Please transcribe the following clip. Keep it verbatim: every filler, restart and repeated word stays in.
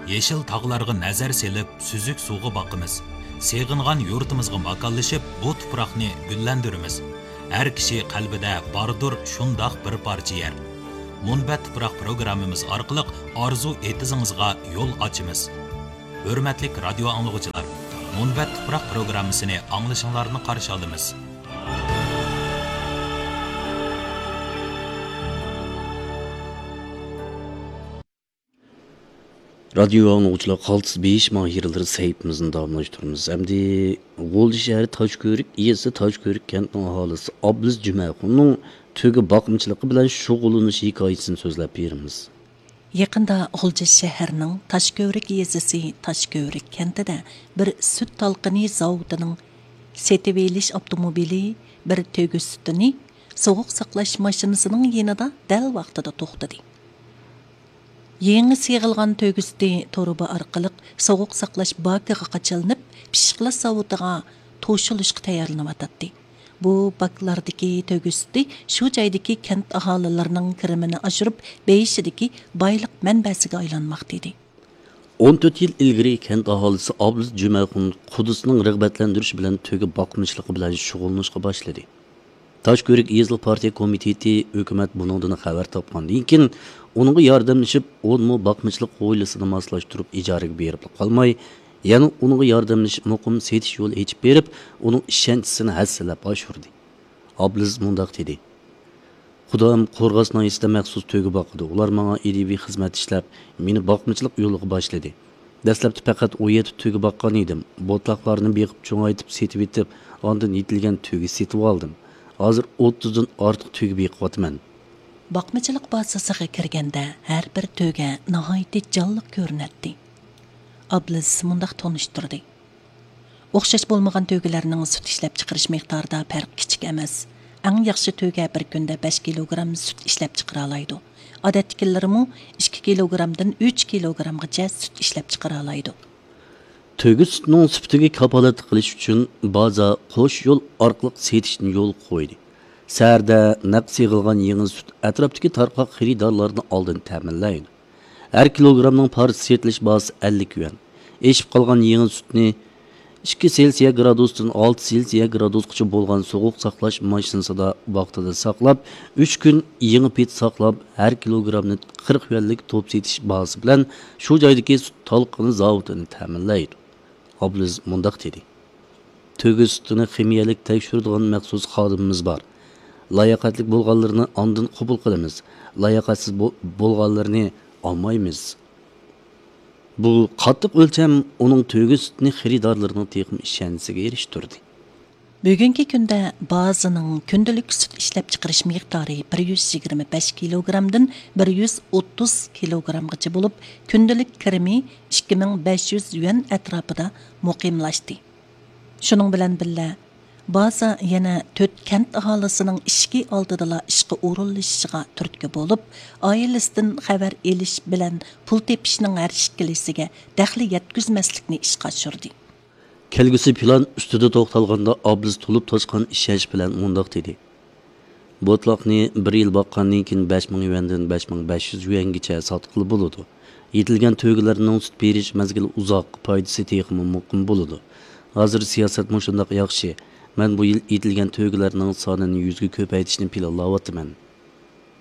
يېشىل تاغلارغا نەزەر سېلىپ، سۈزۈك سۇغا باقىمىز. سېغىنغان يۇرتىمىزغا ماكانلىشىپ، بۇ تۇپراقنى گۈللەندۈرىمىز. ھەر كىشى قەلبىدە باردۇر شۇنداق بىر پارچە يەر. مۇنبەت تۇپراق پروگراممىمىز ئارقىلىق ئارزۇ ئېتىزىڭىزغا يول ئاچىمىز. ھۆرمەتلىك رادىيو ئاڭلىغۇچىلار، مۇنبەت تۇپراق پروگراممىسىنى ئاڭلىشىڭلارنى قارشى ئالىمىز. رادىيو ئاڭلىغۇچىلار، قالتىس بېيىش ماھىرلىرى سەھىپىمىزنى داۋاملاشتۇرىمىز. ئەمدى غۇلجا شەھىرى تاشكۆۋرۈك يېزىسى تاشكۆۋرۈك كەنتىنىڭ ئاھالىسى ئابلىز جۈمەخۇننىڭ تۆگە باقمىچىلىقى بىلەن شۇغۇللىنىش ھېكايىسىنى سۆزلەپ بېرىمىز. يېقىندا غۇلجا شەھىرىنىڭ تاشكۆۋرۈك يېزىسى تاشكۆۋرۈك كەنتىدە بىر سۈت تالقىنى زاۋۇتىنىڭ سېتىۋېلىش ئاپتوموبىلى بىر تۆگە سۈتىنى سوغۇق ساقلاش ماشىنىسىنىڭ يېنىدا دەل ۋاقتىدا توختىدى. يېڭى سېغىلغان تۆگە سۈتى تۇرۇبا ئارقىلىق سوغۇق ساقلاش باكىغا قاچىلىنىپ، پىششىقلاش زاۋۇتىغا توشۇلۇشقا تەييارلىنىۋاتاتتى. بۇ باكلاردىكى تۆگە سۈتى شۇ جايدىكى كەنت ئاھالىلىرىنىڭ كىرىمىنى ئاشۇرۇپ، بېيىشىدىكى بايلىق مەنبەسىگە ئايلانماقتا ئىدى. ئون تۆت يىل ئىلگىرى كەنت ئاھالىسى ئابلىز جۈمەخۇن قۇدىسىنىڭ رىغبەتلەندۈرۈشى بىلەن تۆگە باقمىچىلىقى بىلەن شۇغۇللىنىشقا باشلىدى. تاشكۆۋرۈك يېزىلىق پارتىيە كومىتېتى ھۆكۈمەت بۇنىڭدىن خەۋەر تاپقاندىن كېيىن، ئۇنىڭغا ياردەملىشىپ، ئون مو باقمىچىلىق ھويلىسىنى ماسلاشتۇرۇپ ئىجارىگە بېرىپلا قالماي، يەنە ئۇنىڭغا ياردەملىشىپ، مۇقىم سېتىش يولى ئېچىپ بېرىپ، ئۇنىڭ ئىشەنچىسىنى ھەسسىلەپ ئاشۇردى. ئابلىز مۇنداق دېدى: «قۇدام قورغاس ناھىيەسىدە مەخسۇس تۆگە باقىدۇ. ئۇلار ماڭا ئىجابىي خىزمەت ئىشلەپ، مېنى باقمىچىلىق يولىغا باشلىدى. دەسلەپتە پەقەت ئون يەتتە تۆگە باققان ئىدىم. بوتلاقلارنى بېقىپ، چوڭايتىپ، سېتىۋېتىپ، ئاندىن يېتىلگەن تۆگە سېتىۋالدىم. ھازىر ئوتتۇزدىن ئارتۇق تۆگە بېقىۋاتىمەن.» باقمىچىلىق بازىسىغا كىرگەندە، ھەر بىر تۆگە ناھايىتى جانلىق كۆرۈنەتتى. ئابلىز مۇنداق تونۇشتۇردى: «ئوخشاش بولمىغان تۆگىلەرنىڭ سۈت ئىشلەپچىقىرىش مىقدارىدا پەرق كىچىك ئەمەس. ئەڭ ياخشى تۆگە بىر كۈندە بەش كىلوگرام سۈت ئىشلەپچىقىرالايدۇ. ئادەتتىكىلىرىمۇ ئىككى كىلوگرامدىن ئۈچ كىلوگرامغىچە سۈت ئىشلەپچىقىرالايدۇ.» تۆگە سۈتىنىڭ سۈپىتىگە كاپالەتلىك قىلىش ئۈچۈن بازا قوش يول ئارقىلىق سېتىشنى يولغا قويدى. سەھەردە نەق سېغىلغان يېڭى سۈت ئەتراپتىكى تارقاق خېرىدارلارنى ئالدىن تەمىنلەيدۇ. ھەر كىلوگرامنىڭ پارچە سېتىلىش باھاسى ئەللىك يۈەن. ئېشىپ قالغان يېڭى سۈتنى ئىككى سېلسىيە گرادۇستىن ئالتە سېلسىيە گرادۇسقىچە بولغان سوغۇق ساقلاش ماشىنىسىدا ۋاقتىدا ساقلاپ، ئۈچ كۈن يېڭى پېتى ساقلاپ، ھەر كىلوگرامنى قىرىق يۈەنلىك توپ سېتىش باھاسى بىلەن شۇ جايدىكى سۈت تالقىنى زاۋۇتىنى تەمىنلەيدۇ. ئابلىز مۇنداق دېدى: «تۆگە سۈتىنى خىمىيەلىك تەكشۈرىدىغان مەخسۇس خادىمىمىز بار. لاياقەتلىك بولغانلىرىنى ئاندىن قوبۇل قىلىمىز، لاياقەتسىز بو-، بولغانلىرىنى ئالمايمىز.» بۇ قاتتىق ئۆلچەم ئۇنىڭ تۆگە سۈتىنى خېرىدارلىرىنىڭ تېخىمۇ ئىشەنچىسىگە ئېرىشتۈردى. بۈگۈنكى كۈندە بازىنىڭ كۈندىلىك سۈت ئىشلەپچىقىرىش مىقدارى بىر يۈز يىگىرمە بەش كىلوگرامدىن بىر يۈز ئوتتۇز كىلوگرامغىچە بولۇپ، كۈندىلىك كىرىمى ئىككى مىڭ بەش يۈز يۈەن ئەتراپىدا مۇقىملاشتى. شۇنىڭ بىلەن بىللە، بازا يەنە تۆت كەنت ئاھالىسىنىڭ ئىشىكى ئالدىدىلا ئىشقا ئورۇنلىشىشىغا تۈرتكە بولۇپ، ئائىلىسىدىن خەۋەر ئېلىش بىلەن پۇل تېپىشنىڭ ھەر ئىككىلىسىگە دەخلى يەتكۈزمەسلىكنى ئىشقا ئاشۇردى. كەلگۈسى پىلان ئۈستىدە توختالغاندا، ئابلىز تولۇپ تاشقان ئىشەنچ بىلەن مۇنداق دېدى: «بوتلاقنى بىر يىل باققاندىن كېيىن، بەش مىڭ يۈەندىن بەش مىڭ بەش يۈز يۈەنگىچە ساتقىلى بولىدۇ. يېتىلگەن تۆگىلەرنىڭ سۈت بېرىش مەزگىلى ئۇزاق، پايدىسى تېخىمۇ مۇقىم بولىدۇ. ھازىر سىياسەت مۇشۇنداق ياخشى. مەن بۇ يىل يېتىلگەن تۆگىلەرنىڭ سانىنى يۈزگە كۆپەيتىشنى پىلانلاۋاتىمەن.»